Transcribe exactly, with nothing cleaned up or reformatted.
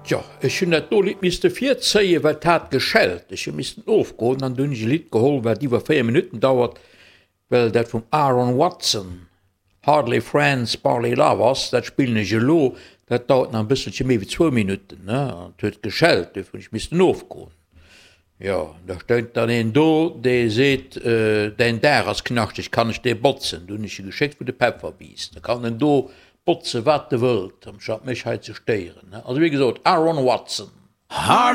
Tjo, ech hunn dat do Lidd misste virzéien, well 't hat geschellt. Ech hu missten ofgoen an du hunn ech e Lidd geholl, wat iwwer véier Minutten dauert, well dat vum Aaron Watson, Hardly Friends, Barely Lovers, dat spillen ech elo, dat dauert nach e bësselche méi wéi zwou Minutten, ne? An 't huet geschellt, duerfir hunn ech missten ofgoen. Jo, da stoung dann een do, dee seet, Däin Daach ass knaschteg, kann ech dee botzen? Du hunn ech e geschéckt, wou de Peffer wiisst. Da kann en do botze wat e wëllt, amstatt mech hei ze stéieren. Also wéi gesot, Aaron Watson.